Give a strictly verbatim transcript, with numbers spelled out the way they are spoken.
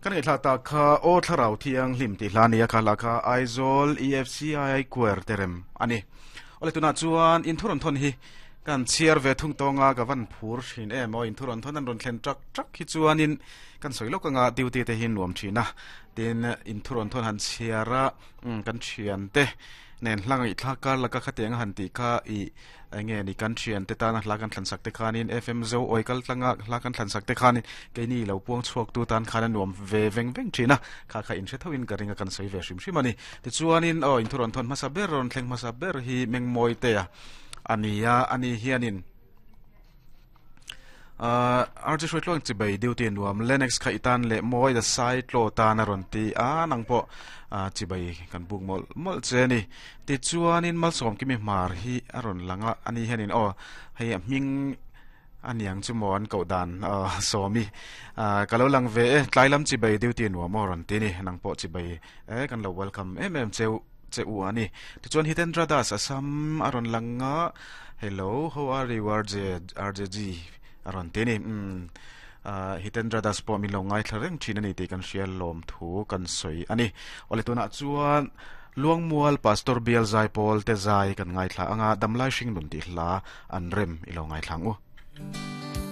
Kan ngaihthla tak kha Aw Thlarau Thianghlim tih hla nia kha hla kha Aizawl E F C I Choir te rem ani. Awle, tunah chuan in thu rawn thawn hi kan chhiar ve thung tawnga ka van phur thin em aw. In thu rawn thawn an rawn thlen tak tak hi chuanin kan sawi lawk anga duty te hi nuam thina tin in thu rawn thawn han chhiara kan thian te nen hla ngaihthla kar laka khatianga han tih kha i enge ni kan thian te tana hla kan thlan sak te khanin F M zo oi kal tlanga hla kan thlan sak te khanin keini lo puang chhuak tu tan khan a nuam ve veng veng thina kha kha in hre thoin ka ringa kan sawi ve hrim hrim ani. Tichuanin aw in thu rawn thawn hmasa ber rawn thleng hmasa ber hi Mengmawi te a ania ani hianin uh, R J Hruaitluang, chibai, duty nuam. Lennox kha itan le mawi da sai tlo tan a rawn ti a. Nang pawh uh, chibai kan buk mol mol che ni. Ti chuanin Malsawm kimi mar hi a rawn langa ani hianin aw hei a hming aniang chu maw an koh dan uh, sawmi uh, kalo lang ve e. Tlai lam chibai, duty nuam aw rawn ti ni. Nang pawh chibai e, kan lo welcome em em cheu che u ani. Tichuan Hitendra Das Assam a rawn langa. "Hello, how are you, R J R J G?" a rawn ti ni. um uh, Hitendra Das pawh min lo ngai thla reng thin ani tih kan hria, lawm thu kan sawi ani. Awle, tunah chuan Luangmual Pastor Bial Zai Pawl te zai kan ngai thla anga, Damlai Hring Nun tih hla an rem ilo ngai thlang u.